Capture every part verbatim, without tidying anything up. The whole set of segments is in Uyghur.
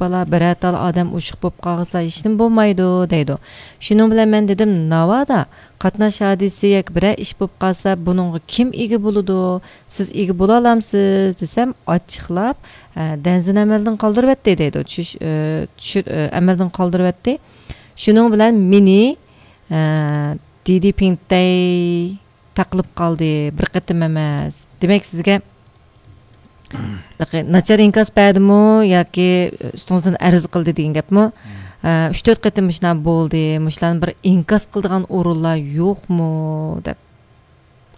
بالا، بىرەر تال ئادەم ئوشۇق بولۇپ قالسا، ھېچنېمە بولمايدۇ، دەيدۇ. شۇنىڭ بىلەن مەن دېدىم، ناۋادا قاتناش ھادىسىسى ياكى بىرەر ئىش بولۇپ قالسا، بۇنىڭغا كىم ئىگە بولىدۇ؟ سىز ئىگە بولالامسىز؟ دېسەم، ئاچچىقلاپ، ئە، دەنزىنى ئەمەلدىن قالدۇرۇۋەتتى، دەيدۇ. چۈش-، ئە، چۈشۈر-، ئە، ئەمەلدىن قالدۇرۇۋەتتى. شۇنىڭ بىلەن مېنى، ئە، دىدى پىڭتەي تاقىلىپ قالدى، بىر قېتىم ئەمەس. دېمەك، سىزگە ناچار ئىنكاس بەردىمۇ ياكى ئۈستىڭىزدىن ئەرز قىلدى دېگەن گەپمۇ؟ ئە، ئۈچ تۆت قېتىم مۇشۇنداق بولدى، مۇشۇلارنى بىر ئىنكاس قىلىدىغان ئورۇنلار يوقمۇ؟ دەپ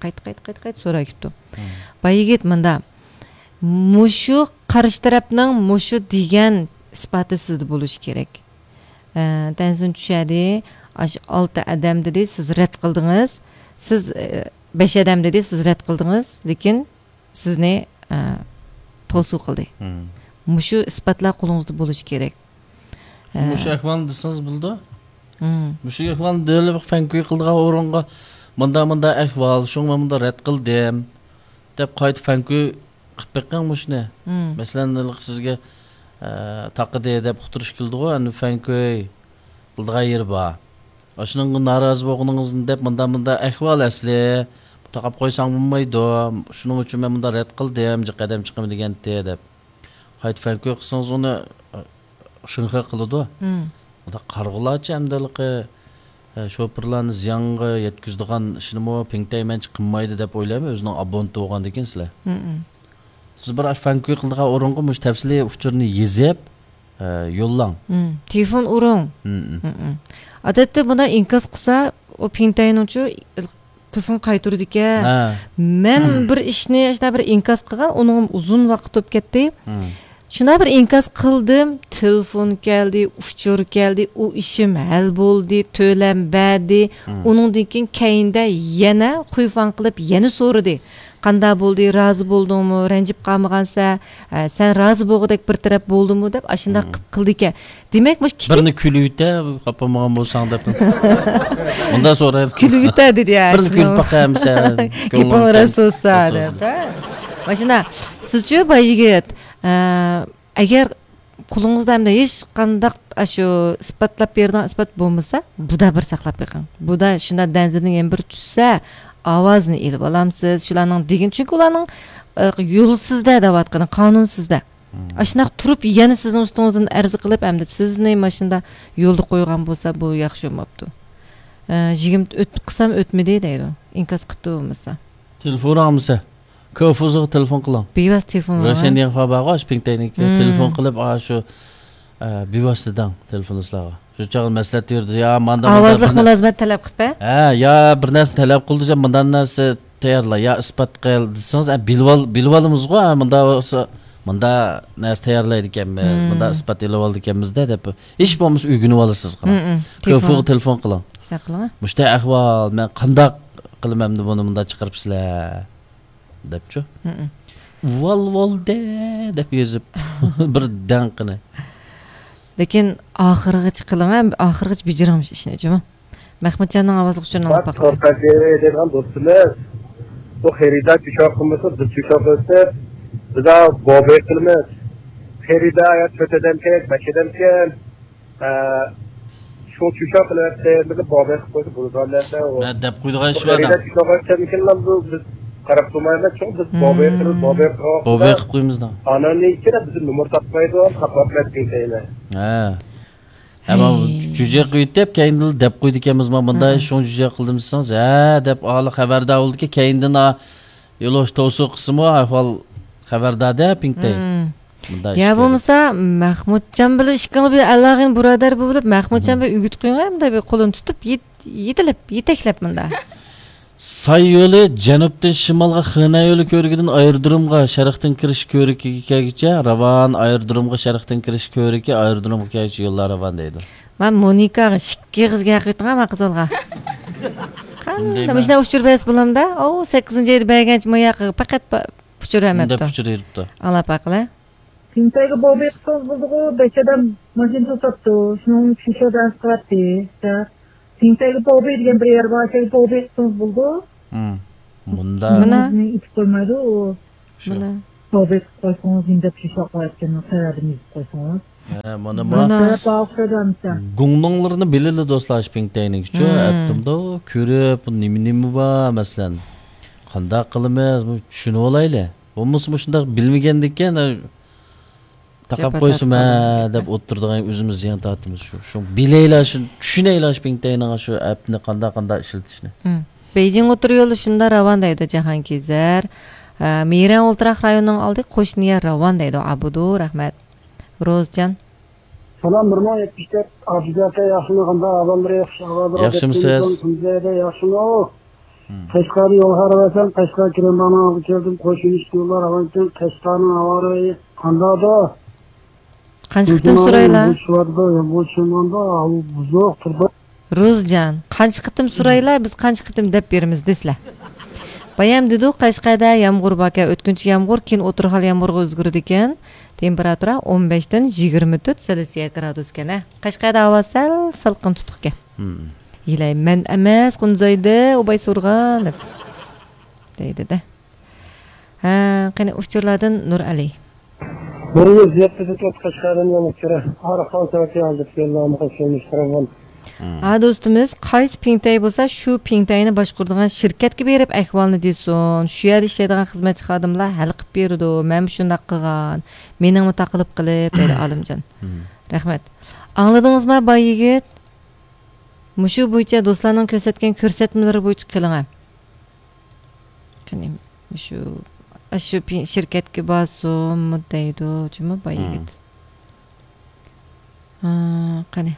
قايتا، قايتا، قايتا، قايتا سوراپ كېتىپتۇ. باي يىگىت مۇندا، مۇشۇ قارشى تەرەپنىڭ مۇشۇ دېگەن ئىسپاتى سىزدە بولۇشى كېرەك. ئە، تەنزىن چۈشەدى، ئاشۇ ئالتە ئادەم دېدى، سىز رەت قىلدىڭىز. سىز، ئە، بەش ئادەم دېدى، سىز رەت قىلدىڭىز. لېكىن سىزنى، ئە، توسۇ قىلدى. مۇشۇ ئىسپاتلار قولىڭىزدا بولۇشى كېرەك. ئە، مۇشۇ ئەھۋالنى دېسىڭىز بولىدۇ. مۇشۇ ئەھۋالنى دېيىلىپ فەنكۈي قىلىدىغان ئورۇنغا مۇندا، مۇندا ئەھۋال، شۇڭا مەن مۇندا رەت قىلدىم، دەپ قايتا فەنكۈي قىلىپ بېقىڭ مۇشۇنى. مەسىلەن، ھېلىقى سىزگە، ئە، تاقىدى دەپ ئۇقتۇرۇش كېلىدىغۇ، ئەمدى فەنكۈي قىلىدىغان يېرى بار. ئاشۇنىڭغا نارازى بولغىنىڭىزنى دەپ، مۇندا، مۇندا ئەھۋال ئەسلى، تاقاپ قويساڭ بولمايدۇ، شۇنىڭ ئۈچۈن مەن مۇندا رەت قىلدىم، جىق ئادەم چىقىمەن دېگەنتى دەپ. قايتا فەنكۈي قىلسىڭىز ئۇنى، ئە، شىنخې قىلىدۇ. مۇنداق قارىغۇلارچە ئەمدى ھېلىقى، ئە، شوپۇرلارنى زىيانغا يەتكۈزىدىغان ئىشنىمۇ پىڭتەي مەنچە قىلمايدۇ دەپ ئويلايمەن، ئۆزىنىڭ ئابونتى بولغاندىكىن سىلەر. سىز بىر فەنكۈي قىلىدىغان ئورۇنغا مۇشۇ تەپسىلىي ئۇچۇرنى يېزىپ، ئە، يوللاڭ. تېلېفون ئۇرۇڭ. ئادەتتە بۇنداق ئىنكاس قىلسا، ئۇ پىڭتەينىڭچۇ تېلېفون قايتۇرىدىكەن. مەن بىر ئىشنى، شۇنداق بىر ئىنكاس قىلغان، ئۇنىڭ ئۇزۇن ۋاقىت ئۆتۈپ كەتتى. شۇنداق بىر ئىنكاس قىلدىم، تېلېفون كەلدى، ئۇچۇر كەلدى، ئۇ ئىشىم ھەل بولدى، تۆلەم بەردى. ئۇنىڭدىن كېيىن كەينىدە يەنە خۇيفاڭ قىلىپ يەنە سورىدى. قانداق بولدى، رازى بولدۇڭمۇ، رەنجىپ قالمىغانسەن، ھە، سەن رازى بولغۇدەك بىر تەرەپ بولدىمۇ دەپ ئاشۇنداق قىپ-، قىلىدىكەن. دېمەك، مۇشۇ كىچىك بىرنى كۈلۈۋېتە، خاپا بولمىغان بولساڭ دەپ. مۇنداق سورايدۇ. كۈلۈۋېتە دېدى يا، بىرنى شۇنى. كۈلۈپ باقايمىسەن، گېپىڭ راست بولسا دەپ، ھە. ماشىنا، سىزچۇ، باي يىگىت، ئە، ئەگەر قولىڭىزدا ئەمدى ھېچقانداق ئاشۇ ئىسپاتلاپ بېرىدىغان ئىسپات بولمىسا، بۇدا بىر ساقلاپ بېقىڭ. بۇدا شۇنداق دەنزىنىڭ يەنە بىر چۈشسە، ئاۋازىنى ئېلىپ ئالامسىز. شۇلارنىڭ دېگىنى، چۈنكى ئۇلارنىڭ، ئە، يولسىزدە دەۋاتقىنى، قانۇنسىزدە. ئاشۇنداق تۇرۇپ يەنە سىزنىڭ ئۈستىڭىزدىن ئەرز قىلىپ، ئەمدى سىزنى ماشىنىدا يولدا قويغان بولسا، بۇ ياخشى بولماپتۇ. ئە، يىگىرمە ئۆت-، قىلسام ئۆتمىدى دەيدۇ. ئىنكاس قىپتۇ بولمىسا. تېلېفون ئالمىسا. كوفۇزغا تېلېفون قىلىڭ. بىۋاسىتە تېلېفون قىلىڭ، روشەن ھە؟ دېگەن خاۋا بارغۇ، ئاشۇ پىڭتەينىڭكى. مم. تېلېفون قىلىپ، ئاشۇ، ئە، بىۋاسىتە دەڭ تېلېفونچىلارغا. شۇ چاغدا مەسلىھەت يۈرىدۇ. يا، ماندا، ماندا ئاۋازلىق بىر نە-، مۇلازىمەت تەلەپ قىلىپ، ھە؟ ھە، يا بىر نەرسىنى تەلەپ قىلدى، يا مۇنداق نەرسە تەييارلا، يا ئىسپات قىل دېسىڭىز، ئە، بىلىۋال-، بىلىۋالىمىزغۇ، ھە، مۇنداق بولسا، مۇنداق نەرسە تەييارلايدىكەنمىز، مم. مۇنداق ئىسپات ئېلىۋالىدىكەنمىز-دە دەپ. ھېچ بولمىسا ئۆگىنىۋالىسىز، قاراڭ. مم، مم. كوفۇغا تېلېفون. تېلېفون قىلىڭ. شۇنداق قىلىڭ. مۇشۇنداق ئەھۋال، مەن قانداق قىلىمەن ئەمدى بۇنى مۇنداق چىقىرىپسىلەر؟ دەپچۇ. مم. ۋال ۋال دە دەپ يېزىپ بىر دەڭقىنى. لېكىن ئاخىرغىچە قىلىڭ، ھە، ئاخىرغىچە بېجىرىڭ مۇشۇ ئىشنى، جۇمۇ. مەخمۇتجاننىڭ ئاۋازلىق ئۇچۇرىنى ئاڭلاپ باقايلى. دەيدىغان دوستىمىز، بۇ خېرىدار چۈشۈرۈپ قىلمىسا، بىز چۈشۈرۈپ قىلسا، بىز بوبى قىلىمىز. خېرىدار يا تۆت ئادەمكەن، بەش ئادەمكەن. ئە، شۇ چۈشۈرۈپ قىلىۋەتسە، بىزنى بوبى قىلىپ قويسا بولىدىغان نەرسە ئۇ. مە دەپ قويىدىغان ئىش بار. خېرىدار چۈشۈرۈپ قىلىۋەتسەمكىن، بۇ بىز قاراپ تۇرمايمىز، چوڭ بىز بوبى قىلىپ، بوبى قىلىپ. بوبى قىلىپ قويىمىز دا. ئانان ئىچىدە بىزنى نومۇر تاپمايدۇ، تاپماپ مەتكىن دەيمەن. ھە. ھە، مانا ھەي. جۈجە قىلىۋېتىپ، كەينىدىن دەپ قويىدىكەنمىز، مانا مۇنداق ھە. شۇڭا جۈجە قىلدىم دېسىڭىز، ھە دەپ، ئالا خەۋەردار بولىدىكەن، كەينىدىن، ئا، يولۇش توسۇ قىلسىمۇ، ئەھۋال خەۋەردار-دە، پىڭتەي. مم. مۇنداق يا ئىش بولمىسا، مەخمۇتجان بىلەن ئىككىڭلار بىر ئەلاغىن بۇرادەر بولۇپ، مەخمۇتجان مم. بىلەن ئۆگىتىپ قويۇڭ، مۇنداق بىر قولىنى تۇتۇپ، يېت-، يېتىلىپ، يېتەكلەپ مۇنداق. ساي يولى جەنۇبتىن شىمالغا خېنەن يولى كۆۋرۈكىدىن ئايرودرومغا شەرقتىن كىرىش كۆۋرۈكىگە كەلگۈچە راۋان، ئايرودرومغا شەرقتىن كىرىش كۆۋرۈكى، ئايرودرومغا كەلگۈچە يوللار راۋان دەيدۇ. مەن مونىكاغا ئىككى ئېغىز گەپ قىلىۋېتىڭ، مانا قىز بالىغا. قانداق مۇشۇنداق ئۇچۇر بەرسە بولامدا؟ ئۇ سەككىزىنچى ئايدا بەرگەنچە ما ياققا پەقەت با-، ئۇچۇر بەرمەپتۇ. ئۇچۇر بېرىپتۇ. ئاڭلاپ باقىلى. پىڭتەيگە بوبى قىلسىڭىز بولىدىغۇ، بەش ئادەم ماشىنا توساتتى. شۇنىڭ ئۈچۈن شۇ دەرس قىلاتتى. پىڭتەيگە بوبى دېگەن بىر يەر بار، شۇ بوبى قىلسىڭىز بولىدۇ. مم. مۇندا. مانا. ئېيتىپ قويمايدۇ ئۇ. شۇ. مانا. بوبى قىلىپ قويسىڭىز، نېمە دەپ شۇ شوق قىلىۋەتكىنىنىڭ سەۋەبىنى يېزىپ قويسىڭىز. ھە، مانا، مانا. مانا. سەۋەب ئاغرىپ كەتمىسە. گۇڭنۇڭلىرىنى بىلىلى دوستلار، شى پىڭتەينىڭكىچۇ. مم. ئەپتىمدۇ كۆرۈپ، بۇ نېمە، نېمە بار، مەسىلەن. قانداق قىلىمىز؟ بۇ چۈشىنىۋالايلى. بولمىسا مۇشۇنداق بىلمىگەندىكىن، تاقاپ جاپا قويسىمۇ، تارتقان ھە، دەپ ئولتۇرىدىغان ئۆزىمىز زىيان تارتىمىز. شۇ، شۇ بىلەيلا، شۇ چۈشىنەيلا، شۇ پىڭتەينىڭ شۇ ئەپنى قانداق، قانداق ئىشلىتىشنى. مم. بېيجىڭ ئوتتۇرا يولى شۇنداق راۋان دەيدۇ جاھانكېزەر. ئە، مېرەن ئولتۇراق رايونىنىڭ ئالدى قوشنىيە راۋان دەيدۇ ئابۇدۇ. رەھمەت. روزجان. سالام، بىر مىڭ يەتمىش تۆت، ئابىزەتە ياخشىمۇ؟ قانداق ئەھۋاللىرى؟ ياخشى ئەھۋاللىرى. ياخشىمۇسىز؟ كۈنلەردە ياخشىمۇ؟ مم. قەشقەرگە يول خاراب ئەسەن، قەشقەر كىرىمبانىڭ ئالدىغا كەلدىم، قوشۇن ئىشتىيوللار ھاۋانكەن، قەشقەرنىڭ ھاۋا رايى قانداقدۇ؟ قانچە قېتىم سورايلا؟ بۇزۇق تۇرىدۇ. روزجان، قانچە قېتىم سورايلا، بىز قانچە قېتىم دەپ بېرىمىز دېسىلە. بايام دېدۇق، قەشقەردە يامغۇر باركەن، ئۆتكۈنچى يامغۇر، كېيىن ئوتتۇرا ھال يامغۇرغا ئۆزگىرىدىكەن. تېمپېراتۇرا ئون بەشتىن يىگىرمە تۆت سېلسىيە گرادۇسكەن، ھە. قەشقەردە ھاۋا سەل سالقىن تۇتۇقكەن. مم. يىلەي مەن ئەمەس، قۇنزايدى، ئۇباي سورغان دەپ دەيدىدە. ھە، قېنى ئۇچۇرلاردىن نۇرئەلى. بىر يۈز يەتتە تۆت قەشقەردىن يەنە ئۇچۇرى. ئارقان سەۋەتى ھازىر يوللارمۇ قوشۇلمىش تۇرغان. ھا، دوستىمىز، قايسى پىڭتەي بولسا، شۇ پىڭتەينى باشقۇرىدىغان شىركەتكە بېرىپ ئەھۋالنى دېسۇن. شۇ يەردە ئىشلەيدىغان خىزمەتچى خادىملار ھەل قىلىپ بېرىدۇ. مەنمۇ شۇنداق قىلغان. مېنىڭمۇ تاقىلىپ قېلىپ، دەيدۇ ئالىمجان. مم. رەھمەت. ئاڭلىدىڭىزما، باي يىگىت؟ مۇشۇ بويىچە دوستلارنىڭ كۆرسەتكەن كۆرسەتمىلىرى بويىچە قىلىڭە. قېنى، مۇشۇ، ئاشۇ پى-، شىركەتكە بارسۇنمۇ دەيدۇ، جۇمۇ باي مم. يىگىت. ھا، قېنى.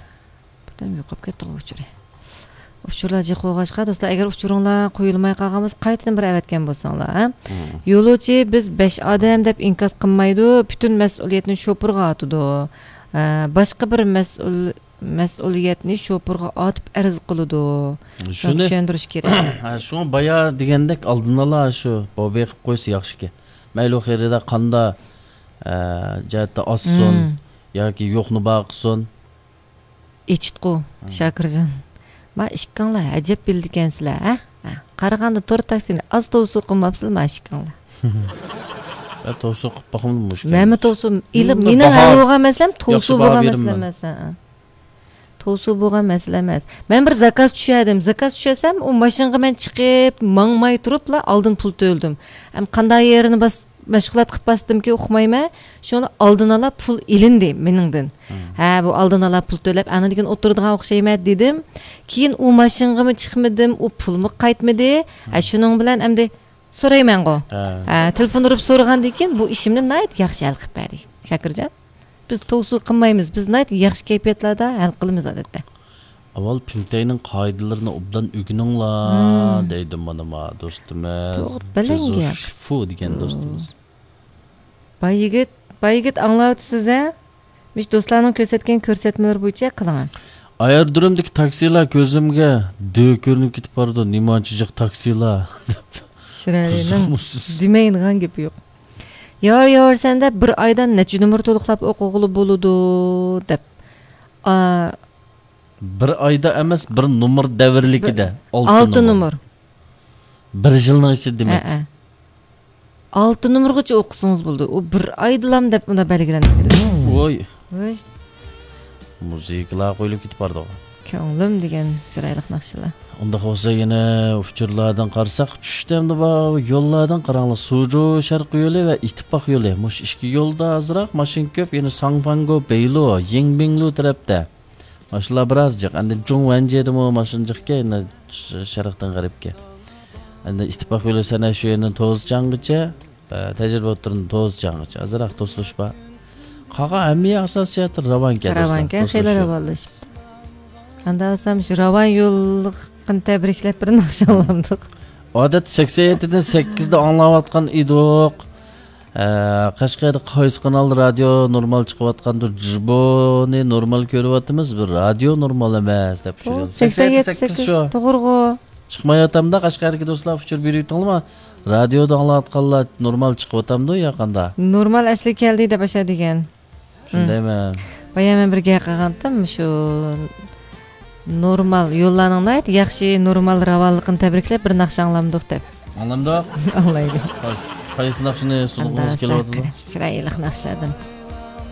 بىردەم يوقاپ كەتتىغۇ ئۇچۇرى. ئۇچۇرلار جىق بولغاچقا، دوستلار، ئەگەر ئۇچۇرۇڭلار قويۇلماي قالغان بولسا، قايتىدىن بىر ئەۋەتكەن بولساڭلار، ھە؟ مم. يولۇچى بىز بەش ئادەم دەپ ئىنكاس قىلمايدۇ، پۈتۈن مەسئۇلىيەتنى شوپۇرغا ئاتىدۇ. ھە، باشقا بىر مەسئۇل مەسئۇلىيەتنى شوپۇرغا ئاتىپ ئەرز قىلىدۇ. شۇنى چۈشەندۈرۈش كېرەك. ھە، شۇڭا بايا دېگەندەك ئالدىن ئالا شۇ بوبى قىلىپ قويسا ياخشىكەن. مەيلى خېرىدار قاندا، ئە، جەھەتتە ئاشسۇن مم. ياكى يوقنى بار قىلسۇن. ئېچىتقۇ، مم. شاكىرجان. ما ئىككىڭلار ئەجەب بىلىدىكەنسىلەر، ھە؟ ھە. قارىغاندا تور تاكسىنى ئاز توۋسۇ قىلماپسىلەر ما ئىككىڭلار. ھە، توۋسۇ قىلىپ باقمىدىم مۇشۇ. مەنمۇ توۋسۇ، ئىلىم، مېنىڭ ھەل بولغان مەسىلەم توۋسۇ بولغان مەسىلە ئەمەس. ھە. توۋسۇ بولغان مەسىلە ئەمەس. مەن بىر زاكاز چۈشەردىم. زاكاز چۈشەرسەم، ئۇ ماشىنىغا مەن چىقىپ، ماڭماي تۇرۇپلا ئالدىن پۇل تۆلىدىم. ئەم، قانداق يېرىنى باس-، مەشغۇلات قىلىپ باستىمكى، ئۇقمايمەن. شۇڭا ئالدىن ئالا پۇل ئېلىندى مېنىڭدىن. مم. ھە، بۇ ئالدىن ئالا پۇل تۆلەپ، ئاندىن كېيىن ئولتۇرىدىغان ئوخشايمەن دېدىم. كېيىن ئۇ ماشىنىغىمۇ چىقمىدىم، ئۇ پۇلمۇ قايتمىدى. ھە، مم. شۇنىڭ بىلەن ئەمدى سورايمەنغۇ. ھە. ھە، تېلېفون ئۇرۇپ سورىغاندىن كېيىن بۇ ئىشىمنى ناھايىتى ياخشى ھەل قىلىپ بەردى، شاكىرجان. بىز توۋسۇ قىلمايمىز، بىز ناھايىتى ياخشى كەيپىياتلاردا ھەل قىلىمىز ئادەتتە. ئاۋۋال پىڭتەينىڭ قائىدىلىرىنى ئوبدان ئۆگىنىڭلار، مم. دەيدۇ مانا ما دوستىمىز. توغرا، بەلەن گەپ. فۇ دېگەن دوستىمىز. باي يىگىت، باي يىگىت ئاڭلاۋاتىسىز ھە؟ مۇشۇ دوستلارنىڭ كۆرسەتكەن كۆرسەتمىلىرى بويىچە قىلىڭ. ئايرودرومدىكى تاكسىلار كۆزۈمگە دۆ كۆرۈنۈپ كېتىپ بارىدۇ، نېمانچە جىق تاكسىلار دەپ. شىرەلىنىڭ قىزىقمۇسىز؟ دېمەيدىغان گېپى يوق. يار يار سەندە بىر ئايدا نەچچە نومۇر تولۇقلاپ ئوقۇغىلى بولىدۇ دەپ. ئا، بىر ئايدا ئەمەس، بىر نومۇر دەۋرلىكىدە. بىر، ئالتە ئالتە نومۇر. نومۇر. بىر يىلنىڭ ئىچىدە دېمەك. ھەئە. ئالتە نومۇرغىچە ئوقۇسىڭىز بولىدۇ. ئۇ بىر ئايدىلام دەپ ئۇندا بەلگىلەنگەن. ۋوي. ۋوي. مۇزىكىلار قويۇلۇپ كېتىپ بارىدۇ. كۆڭلۈم دېگەن چىرايلىق ناخشىلار. ئۇنداق بولسا يەنە ئۇچۇرلاردىن قارىساق، چۈشتە ئەمدى بار يوللاردىن قاراڭلار. سۇجۇ شەرقىي يولى ۋە ئىتتىپاق يولى. مۇشۇ ئىككى يولدا ئازراق ماشىنا كۆپ. يەنە ساڭفاڭگو بېيلۇ، يىڭبىڭلۇ تەرەپتە. ماشىنىلار بىراز جىق. ئەمدى جۇڭ ۋەنجيېدىمۇ ماشىنا جىقكەن، يەنە ش-، شەرقتىن غەربكە. ئەمدى ئىتتىپاق يولى سەنە شۇ يەردىن توزچاڭغىچە، ئە، تەجرىبە ئوتتۇرىدىن توزچاڭغىچە ئازراق توسۇلۇش بار. قالغان ھەممە يەر ئاساسىي جەھەتتىن راۋانكەن، دوستلار، راۋانكەن، خېلى توسۇلۇش يوق. راۋانلىشىپتۇ. قانداق بولسام شۇ راۋان يوللۇقىنى تەبرىكلەپ بىر ناخشا ئاڭلامدۇق. ئادەتتە سەكسەن يەتتىدىن سەككىزدە ئاڭلاۋاتقان ئىدۇق. ئە، قەشقەردە قايسى قانالدا رادىيو نورمال چىقىۋاتقاندۇ؟ جىبونى نورمال كۆرۈۋاتىمىز، بىر رادىيو نورمال ئەمەس دەپ ئۇ چۈشۈرگەن. سەكسەن يەتتە، سەكسەن سەككىز سەككىز شۇ. توغرىغۇ. چىقمايۋاتامدا، قەشقەردىكى دوستلار ئۇچۇر بېرىۋېتىڭلارما؟ رادىيودا ئاڭلاۋاتقانلار نورمال چىقىۋاتامدۇ يا قانداق؟ نورمال ئەسلىگە كەلدى دەپ ئاشا دېگەن. شۇندايمۇ؟ بايا مەن بىر گەپ قىلغانتىم، شۇ نورمال يوللارنىڭ ناھايىتى ياخشى، نورمال راۋانلىقىنى تەبرىكلەپ بىر ناخشا ئاڭلامدۇق دەپ. ئاڭلامدۇق؟ ئاڭلايلى. قاي-، قايسى ناخشىنى سۇنغۇڭىز كېلىۋاتىدۇ؟ چىرايلىق ناخشىلاردىن.